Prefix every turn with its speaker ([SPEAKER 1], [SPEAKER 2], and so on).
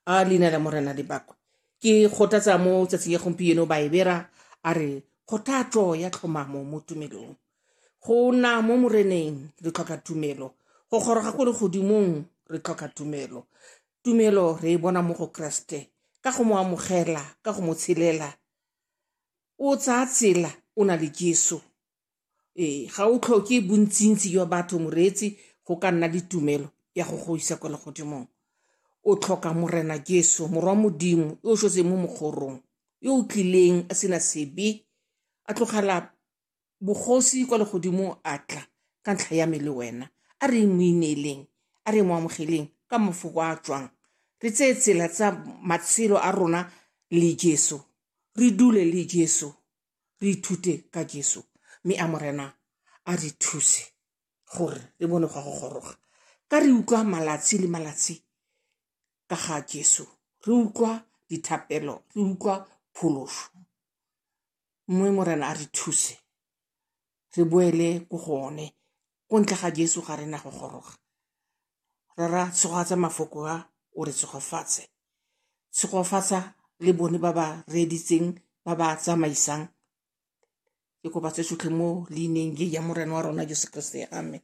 [SPEAKER 1] A leina la Morena le bakwe. Ke kgothatsa mo tsatsing ya gompieno Baebera a re kgothatso ya tlhomamo mo tumelong. Go nna mo Moreneng re tlhoka tumelo, go goroga ko legodimong re tlhoka tumelo. Tumelo re e bona mo go Kreste ka go mo amogela, ka go mo tshelela. O tsaya tsela o na le Jesu. Ee, ga o tlhoke bontsintsi jwa batho moreetsi go ka nna le tumelo ya go go isa kwa legodimong. O tlhoka Morena Jesu, Morwa Modimo, yo o šotseng mo mokgorong, yo o tlileng a sena sebe, a tlogela bogosi kwa legodimong a tla ka ntlha ya me le wena. A re mo ineeleng, a re mo amogeleng ka mafoko a tswang. Re tseye tsela tsa matshelo a rona le Jesu, re dule le Jesu, re ithute ka Jesu, mme a Morena a re thuse gore re bone go go goroga. Ka re utlwa malatsi le malatsi ka ga Jesu, re utlwa dithapelo, re utlwa pholoso, mme Morena a re thuse re boele ko go one. Ko ntle ga Jesu ga rena go goroga. Rara, tshegofatsa mafoko a, o re tshegofatse. Tshegofatsa le bone ba ba reeditseng, ba ba tsamaisang. Ke kopa tse tsotlhe mo leineng le ya Morena wa rona Jesu Kriste. Amen.